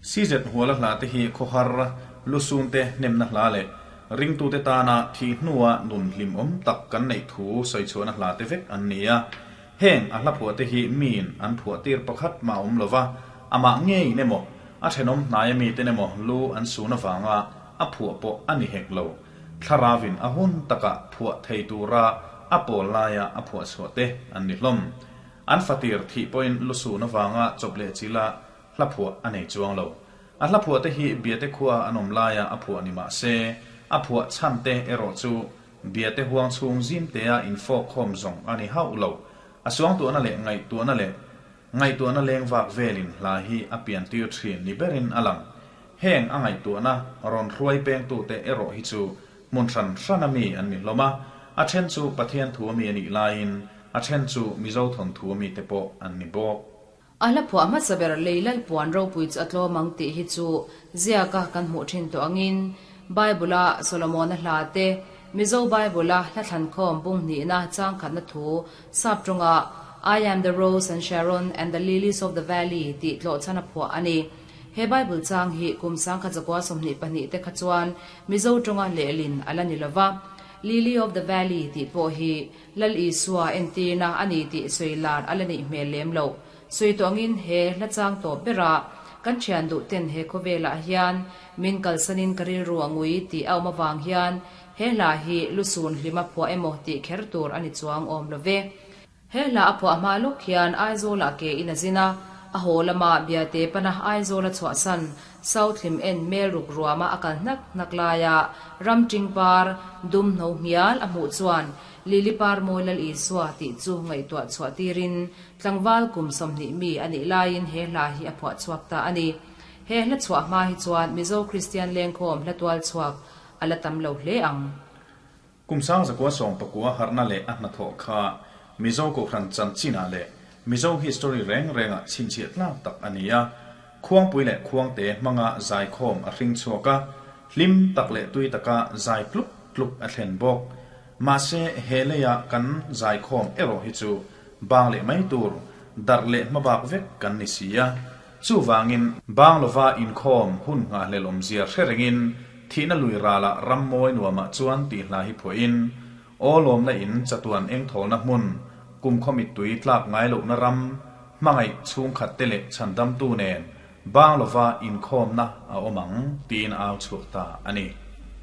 CZ Huala hla te hi khawhar lusun te hnemna hla leh ringtute tana thih hnua nun hlimawm tak kan neih thu sawichhuahna hla te vek an ni a. Heng a hla phuah te hi miin an phuah tir pakhat mah awm lova, amah ngeiin emaw, a thenawm hnaia miten emaw lu an sun avanga a phuah pawh a ni hek lo. Thlaravin a hun takah phuah thei tura a pawl laia a phuah chhuah te an ni hlawm. An fatir thih pawhin lu sun avanga chawp leh chila hla phuah a nei chuang lo. A hla phuah te hi Biate khua an awm laia a phuah ni mah se, a phuah chhan te erawh chu Biate huang chhung zimtea infawk khawm zawng a ni hauh lo. A suangtuahna leh ngaihtuahna leh ngaihtuahna leng vak velin hla hi a pian tir thin ni berin a lang. Heng a ngaihtuahna rawn hruai pengtute erawh hi chu hmun hran hrana mi an ni hlawm a, a then chu Pathian thu ami a nih laiin a then chu Mizo thawnthu ami te pawh an ni bawk. A hla phuah hmasa ber lei lalpuan ropui chu a tlawm ang tih hi chu ziaka kan hmuh thin tawh angin Bible-a Solomona hla te, Mizo Bible-a hla thlankhawm bung hnihna changkhatna thu sap tawnga I am the rose and Sharon and the lilies of the valley tih tlawhchhan a phuah a ni. He Bible chang hi kum 1922 te kha chuan Mizo tawnga lehlin a la ni lova, Lily of the Valley tih pawh hi Lal Isua entirna a ni tih sawi lar a la nih hmel lem loh. Sawi tawh angin he hla chang tawp berah kan thian duh ten he khawvelah hian min kalsanin ka rilru a ngui tih a awm avang hian he hla hi lusun hlima phuah emaw tih kher tur a ni chuang awm lo ve. He hla a phuah hma lawk hian Aizawlah ke in a zin a, a haw lama Biate pana Aizawl a chhuahsan South hlim en mel ruk ruama a kal hnak hnak laia ram ṭing par dum hno hmial a hmuh chuan Lili par mawi Lal Isua tih chu ngaihtuah chhuah tirin tlangval kum 20 mi a nih laiin he hla hi a phuah chhuak ta a ni. He hla chhuah hma hi chuan Mizo Kristian lengkhawm hla tual chhuak a la tam lo hle ang. Kum 1919 harhna leh a hnathawh kha Mizo Kohhran chanchinah leh Mizo history reng rengah chhinchhiah tlak tak a ni a. Khuangpui leh Khuangte hmanga zaikhawm a hring chhuak a, hlim tak leh tui taka zai tluk tluk a thlen bawk. Mahse, he leia kan zaikhawm erawh hi chu bang leh mai tur, darh leh hmabak vek kan ni si a. Chuvangin, bang lova inkhawm hun nghahhlel awmzia hre rengin thihna lui ralah ram mawi nuamah chuan tih hla hi phuahin, Aw lawmna in chatuan engthawlna hmun, kumkhaw mittui tlak ngai lohna ram, hmangaih chhungkhat te leh chhandamtu nen bang lova inkhawmna a awm ang, tiin a au chhuak ta a ni.